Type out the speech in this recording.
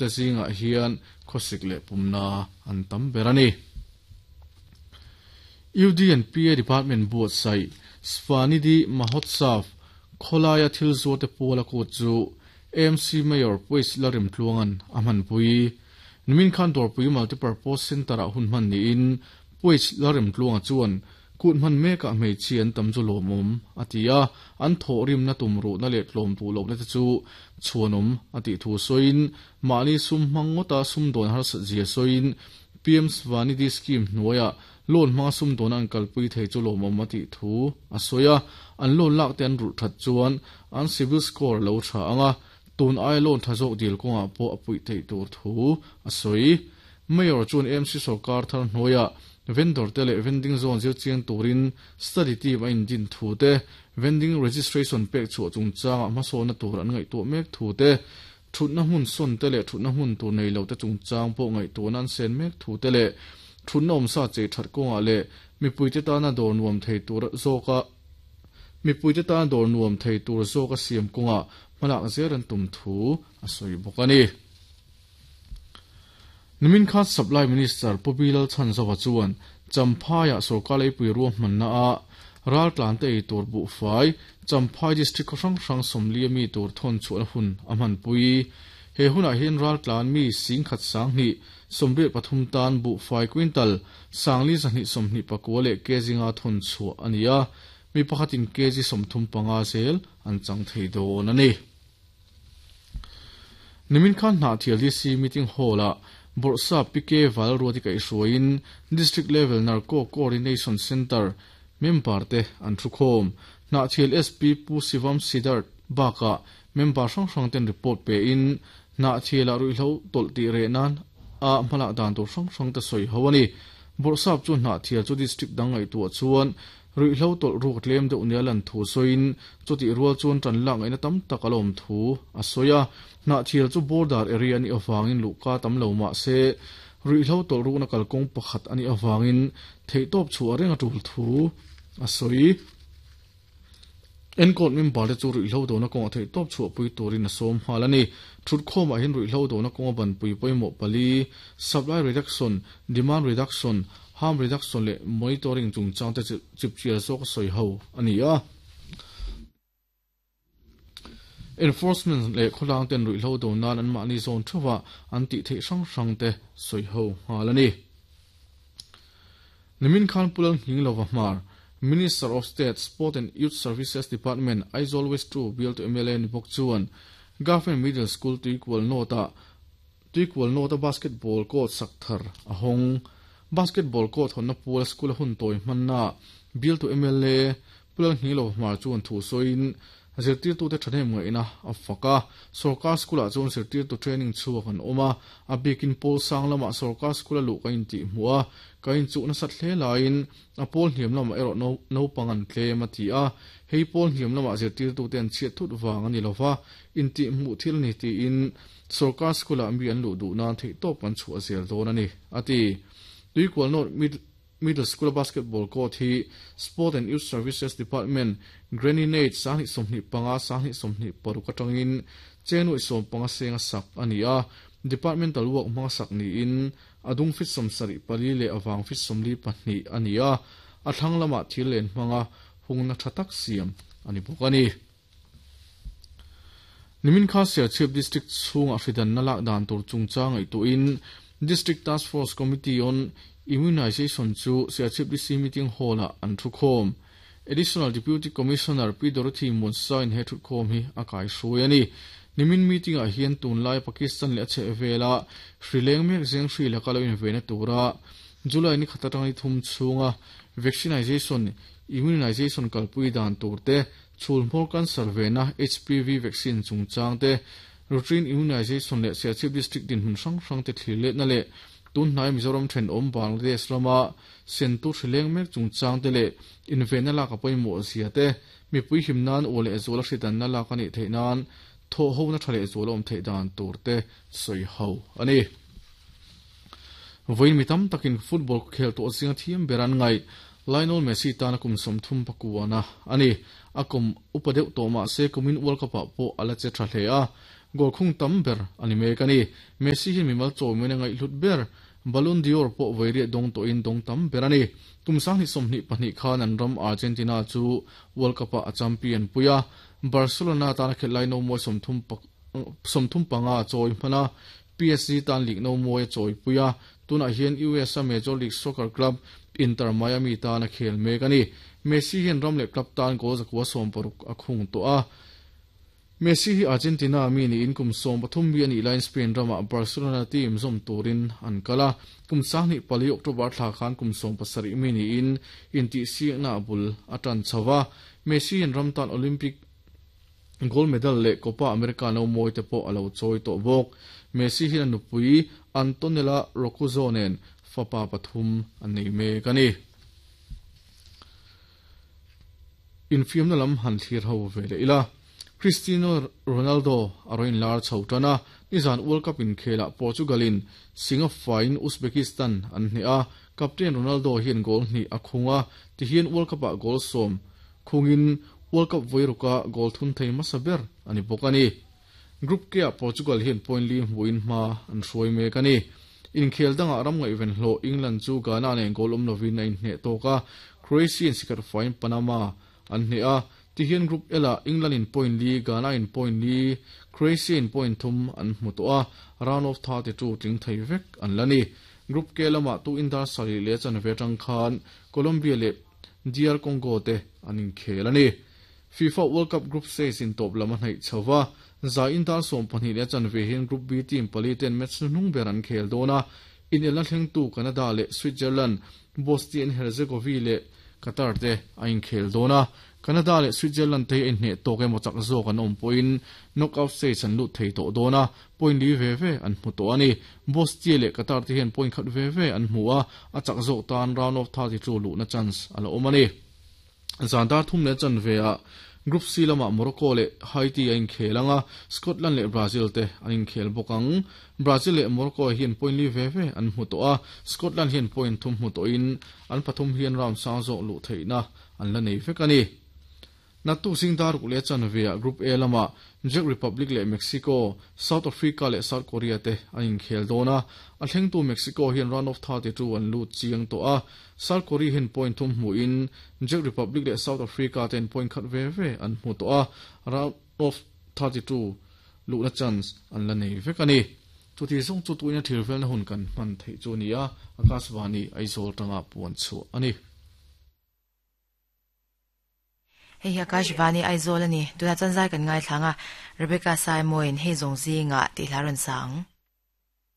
te zingah hian khawsik leh pumna an tam ber a ni. UDNPA Department buatsaih Svanidhi Mahotsav khawlaia thil zuarte puala kut chu AMC Mayor Puis Lalrimtluanga'n a hmanpui. Nimin khan Dawrpui Multipurpose Centre-ah hun hman niin Puis Lalrimtluanga chuan kut hman mekah hmeichhia an tam chu lawmawm a ti a, an thawhrimna tumruhna leh tlawm duh lohna te chu chhuanawm a tih thu sawiin mahni sum hmang ngawta sumdawn harsat zia sawiin PM Svanidhi Scheme hnuaiah loan hmanga sumdawn an kalpui thei chu lawmawm a tih thu a sawi a, an loan lak te an rulh that chuan an CIBIL score a lo tha ang a, tun aia loan tha zawk dil kawngah pawh a puih theih tur thu a sawi. Mayor chuan AMC sawrkar thar hnuaiah vendor te leh vending zone zir chiang turin study team a indin thu te, vending registration pek chhuah chungchangah hmasawnna tur an ngaihtuah mek thu te, Thutna hmun sawn te leh thutna hmun tur nei lo te chungchang pawh ngaihtuahna an sen mek thu te leh thutna awmsa chei that kawngah leh mipuite tana dawr nuam thei tur zawka mipuite tana dawr nuam thei tur zawka siam kawngah hmalak zel an tum thu a sawi bawk a ni. Nimin khan Supply Minister Pu Bilal Chhanzova chuan Champhaiah sorkar leipui ruahmanna ah raltlante ei tur buhfai Champhai District khaw hrang hrang sawmli ami tur thawn chhuahna hun a hmanpui. He hunah hian raltlan mi singkhat sanghnih 83 tan buhfai quintal sangli 224 leh kg nga thawn chhuah a ni a, mi pakhatin kg 35 zel an chang thei dawn a ni. Nimin khan Hnahthial DC Meeting Hall-ah Bawrhsap PK Valruati kaihhruaiin District Level Narco Coordination Centre member te an thukhawm. Hnahthial SP Pu Sivam Siddharth bakah member hrang hrang ten report pein Hnahthialah ruihhlo tawlh tih reh nan a hmalak dan tur hrang hrang te sawi ho a ni. Bawrhsap chu Hnahthial chu District dang ngaihtuah chuan Ruihhlo tawlh ruk tlem deuh nia lan thu sawiin chutih rual chuan tan lak ngaihna tam tak a la awm thu a sawi a. Hnahthial chu border area a nih avangin luhka tam lo mah se ruihhlo tawlh rukna kalkawng pakhat a nih avangin theihtawp chhuah reng a tul thu a sawi. Enkawl member te chu ruihhlo dona kawngah theihtawp chhuahpui turin a sawm nghal a ni. Thutkhawmah hian ruihhlo dona kawnga banpui pawimawh pali, supply reduction, demand reduction, harm reduction leh monitoring chungchang te chipchiar zawk a sawi ho a ni a. Enforcement leh khawlang ten ruihhlo do nan anmahni zawn theuhah an tih theih hrang hrang te sawi ho nghal a ni. Nimin khan Pu Lalnghinglova Hmar, Minister of State, Sport and Youth Services Department, Aizawl West 2 bialtu mla ni bawk chuan Government Middle School Tuikual North-ah Tuikual North-a basketball court sak thar a hawng. Basketball court hawnna pual school-a hun tawi hmannaah bialtu mla Pu Lalnghinglova Hmar chuan thu sawiin Zirtirtute thahnem ngaihna a fak a, sorkar school-ah chuan zirtirtu training chhuak an awm a, a bikin pawl sang lamah sorkar school-a luh ka intih hmuh a, ka inchuh nasat hle laiin a pawl hniam lamah erawh naupang an tlem a ti a, hei pawl hniam lamah zirtirtute an chhiat thut vang a ni lova, intih hmuh thil a ni tiin sorkar school-ah mi an luh duh nan theihtawp kan chhuah zel dawn a ni, a ti. Tuikual North Middle School-a basketball court hi Sport and Youth Services Department Granny Nate 2025, 2026 atangin cheng nuaih 15 senga sak a ni a, departmental work hmanga sak niin a dung feet 74 leh a vang feet 42 a ni a, a thlang lamah thil len hmanga hungna tha tak siam a ni bawk a ni. Nimin kha Serchhip District chhungah hridanna lak dan tur chungchang ngaihtuahin District Task Force Committee on Immunisation chu Serchhip DC Meeting Hall-ah an thukhawm. Additional Deputy Commissioner Pi Dorothy Muansain he thutkhawm hi a kaihruai a ni. Nimin meeting-ah hian tunlai Pakistan leh a chhehvela hri leng mek zeng hri laka lo inveina tura July ni khat atanga ni thum chhunga vaccinization, immunization kalpui dan tur te, Chhulhmawr cancer vena HPV vaccine chungchang te, routine immunization leh Serchhip District dinhmun hrang hrang te thlir letna leh tunhnai Mizoram thenawm Bangladesh rama sentu hri leng mek chungchang te leh invenna lak a pawimawh zia te, mipui him nan aw leh zual a hridanna lak a nih theih nan thawhhona tha leh zual a awm theih dan tur te sawi ho a ni. Vawiin mi tam takin football khel tawh zinga thiam ber an ngaih. Lionel Messi tana kum 31 a ni. A kum upa deuh tawh mah se kumin World Cup ah pawh a la che tha hle a. Goal khung tam ber a ni mek a ni. Messi hi mimal chawimawina ngaihhlut ber Ballon d'Or pawh vawi riat dawng tawhin dawng tam ber a ni. Kum 2022 khan an ram Argentina chu World Cup-ah a champion pui a, Barcelona tana khelh lai nomawi 35 a chawi hman a, PSG tan league nomawi a chawi pui a, tunah hian US-a Major League Soccer club Inter Miami tan a khel mek a ni. Messi hian ram leh club tan goal 160 a khung tawh a. Messi hi Argentina mi niin kum 13 mi a nih laiin Spain ramah Barcelona team zawm turin an kal a, kum 24 October thla khan kum 17 mi niin intihsiakna a bul a tan chho a. Messi hian ram tan Olympic gold medal leh Copa America no mawi te pawh a lo chawi tawh bawk. Messi hian a nupui Antonella Roccuzzo nen fapa pathum an nei mek a ni. Infiamna lam han thlir ho ve leh ila. Cristiano Ronaldo a rawn inlar chho tan a, nizan World Cup inkhelah Portugal-in Singapore-in Uzbekistan an hneh a, captain Ronaldo hian goal hnih a khung a, tihian World Cup-ah goal sawm khungin World Cup vawiruka goal thun thei hmasa ber a ni bawk a ni. Group K-ah Portugal hian point li hmuhin hma an hruai mek a ni. Inkhel dangah ram ngaihven hlawh England chu Ghana nen goal awm lovin a inhneh tawk a, Croatia-in sikhat faiin Panama an hneh a. Tihian Group L-ah England-in point li, Ghana-in point li, Croatia-in point thum an hmu tawh a, round of 32 tling thei vek an la ni. Group K lamah tu indar sarih leh chanve atang khan Colombia leh DR Congo te an inkhel a ni. FIFA World Cup Group Stage in tawp lam a hnaih chho va, zai in dar 12 leh a chanve hian Group B team pali ten match hnuhnung ber an khel dawn a, inelna thlengtu Canada leh Switzerland, Bosnia and Herzegovina leh Qatar te a inkhel dawn a. Canada leh Switzerland te hi a inhneh tawk emaw chak zawk an awm pawhin knockout stage an lut thei tawh dawn a, point li ve ve an hmu tawh a ni. Bosnia leh Qatar te hian point khat ve ve an hmu a, a chak zawk tan round of 32 luhna chance a la awm a ni. Zan dar thum leh chanve ah Group C lamah Morocco leh Haiti a inkhel ang a, Scotland leh Brazil te an inkhel bawk ang. Brazil leh Morocco hian point li ve ve an hmu tawh a, Scotland hian point thum hmu tawhin an pathum hian round sang zawk luh theihna an la nei vek a ni. Naktuk zing dar ruk leh chanve ah Group A lamah Czech Republic leh Mexico, South Africa leh South Korea te an inkhel dawn a, a thlengtu Mexico hian round of 32 an lut chiang tawh a, South Korea hian point thum hmuhin Czech Republic leh South Africa ten point khat ve ve an hmu tawh a, round of 32 luhna chance an la nei vek a ni. Chuti zawng chu tuina thil velna hun kan hman theih chu a ni a, Akashvani Aizawl tanga puan chhuah a ni. Hei hi Akashvani Aizawl a ni. Tunah chuan zai kan ngaithlang a, Rebecca Saimawiin hei zawng zingah tih hla rawn sa ang.